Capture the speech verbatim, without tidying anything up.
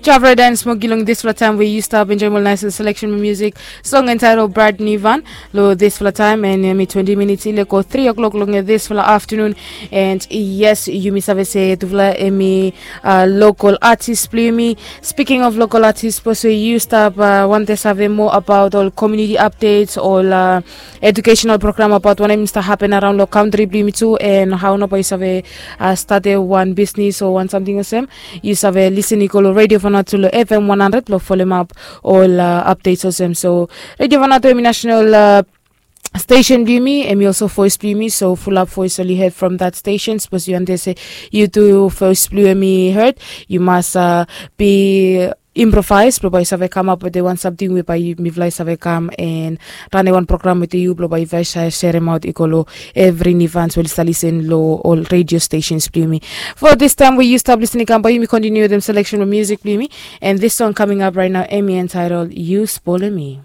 Javre dan smoki long dispela taim we yu stap enjoim ol nice selection music song entitled Brad Nivan. Lo dispela taim and mi twenty minutes ile go three o'clock long dispela afternoon. And yes, yumi save se tufala emi uh, local artist blimi. Speaking of local artist, suppose we yu stap uh, wante save more about all community updates, all uh, educational program about wanem start happen around lo country blimi too, and how napa yu save uh, start one business or one something olsem. Yu save listen i go lo Radio Vanuatu lo F M one hundred lo follow up all uh, updates olsem. So Radio Vanuatu emi national uh, station blimi, emi also voice blimi. So full up voice oli head from that station. Suppose you understand you do voice blue emi heard. You must uh, be improvise blo bai save come up with the one something we bai mifly save come and run a one program with you blo bai vai share share out ikolo every nivans will listen lo all radio stations blimi. For this time we you stop listening come by me continue them selection of music blimi. And this song coming up right now, Emmy entitled You Spoiling Me.